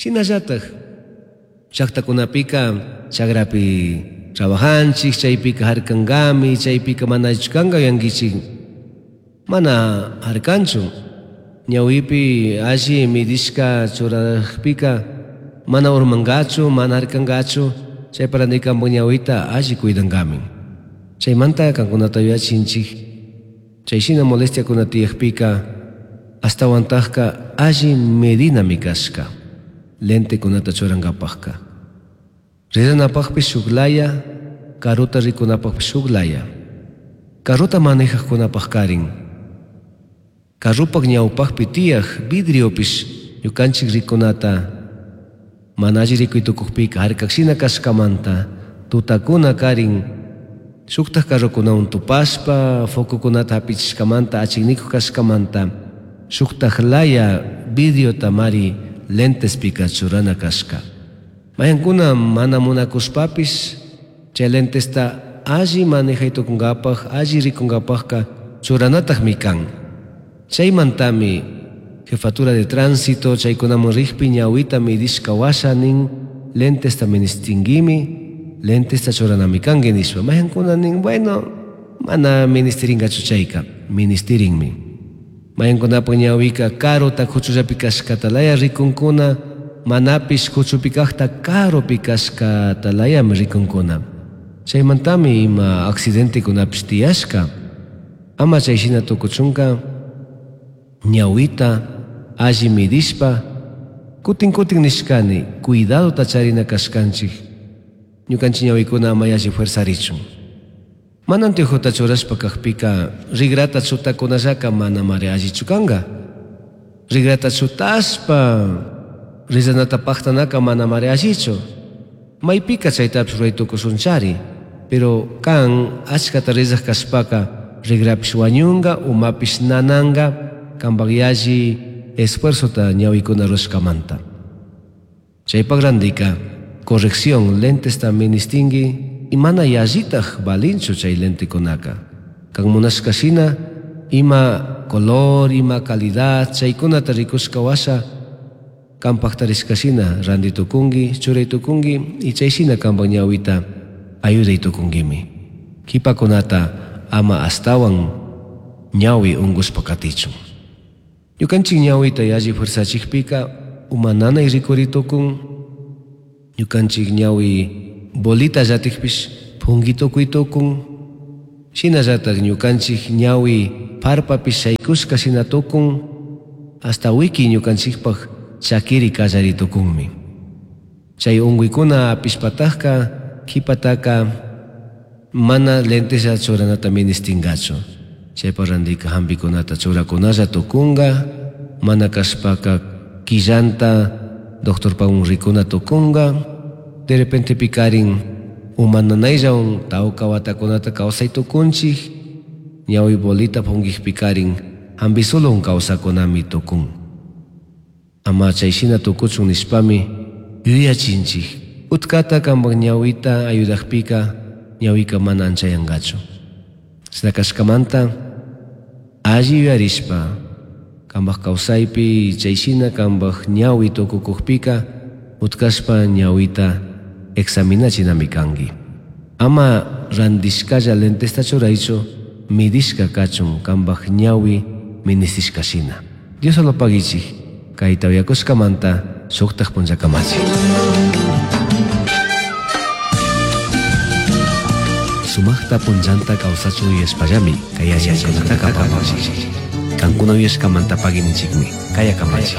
Shinallataj llaqtakunapika chakrapi trabajanchik, chaypika harkankami, chaypika mana allichu kanka yuyankichik. Mana harkanchu. Ñawipi alli midishka churajpika mana urmankachu, mana harkankachu, chaypa randi kanpak ñawita alli cuidankami. Chaymanta kankunata yuyachinchik, chay shina molestiakuna tiyakpika ashtawantakka alli medinami kashka lentekunata churankapakka. Rizanapakpish shuk laya, karuta rikunapakpish shuk laya. Carrota manejajkunapak karin. Carropak ñawpakpi tiyaj vidriopish ñukanchik rikunata mana alli rikuy tukukpika harkakshina kashkamanta tutakuna karin shuktaj carrokunawan tupashpa focokunata hapichishkamanta achiknikuj kashkamanta shuktaj laya vidriota mari lentespika churana kashka. Mayankuna mana munakushpapish chay lentesta alli manejay tukunkapak, alli rikunkapakka churanatakmi kan. Chaymantami jefatura de tránsito chaykunaman rikpi ñawita midishka washa nin lentesta ministinguimi, lentesta churanami kanki nishpa. Mayankuna nin, bueno, mana ministirinkachu chayka, ministirinmi. Mayankunapak ñawika karuta kuchullapi kashkata laya rikunkuna, manapish kuchupi kajta karupi kashkata layami rikunkuna. Chaymantami ima accidentekunapish tiyashka. Ama chay shina tukuchunka ñawita alli midishpa kutin kutin nishkani cuidadota charina kashkanchik ñukanchik ñawikuna ama yalli fuerzarichun. Mana anteojota churashpa kajpika rigrata chutakunallaka mana mari allichu kanka. Rigrata chutashpa rizanata paktanaka mana mari allichu. Maypika chaytapish ruray tukushunchari, pero kan achkata rizaj kashpaka rigrapish wañunka, umapish nananka, kanpak yalli esfuerzota ñawikuna rurashkamanta. Chaypak randika corrección lentesta ministinki y mana yallitaj valinchu chay lentekunaka. Kan munashka shina ima color, ima calidad chaykunata rikushka washa kanpak tarishka shina randi tukunki, churay tukunki y chay shina kanpak ñawita ayuday tukunkimi. Kipakunata ama ashtawan ñawi unkushpa katichun. Ñukanchik ñawita yalli fuerzachikpika uma nanay rikuri tukun, ñukanchik ñawi bolita llatikpish punki tukuy tukun, shinallatak ñukanchik ñawi parpapish shaykushka shina tukun, hasta wiki ñukanchikpak chakiri kallari tukunmi. Chay unkuykuna apishpatakka kipataka mana lenteslla churanata ministinkachu. Chaypa randika hampikunata churakunalla tukunka, mana kashpaka killanta doctorpawan rikuna tukunka, de repente pikarin uma nanayllawan tawka watakunata kawsay tukunchik, ñawi bolita punkikpikarin hampi solowan kawsakunami tukun. Ama chay shina tukuchun nishpami yuyachinchik. Utkata kanpak ñawita ayudakpika ñawika mana anchayankachu. Chashna kashkamanta alli yuyarishpa kanpak kawsaypi chay shina kanpak ñawi tukukukpika utkashpa ñawita examinachinami kanki. Ama randishkalla lentesta churaychu midishka kachun kanpak ñawi ministishka shina. Dios solo pagichik kayta uyakushkamanta shuktaj punllakamachik. Sumajta punllanta kawsachun yuyashpallami kay yachaykunataka apamunchik. Kankuna yuyashkamanta pagininchikmi kaya kamachik.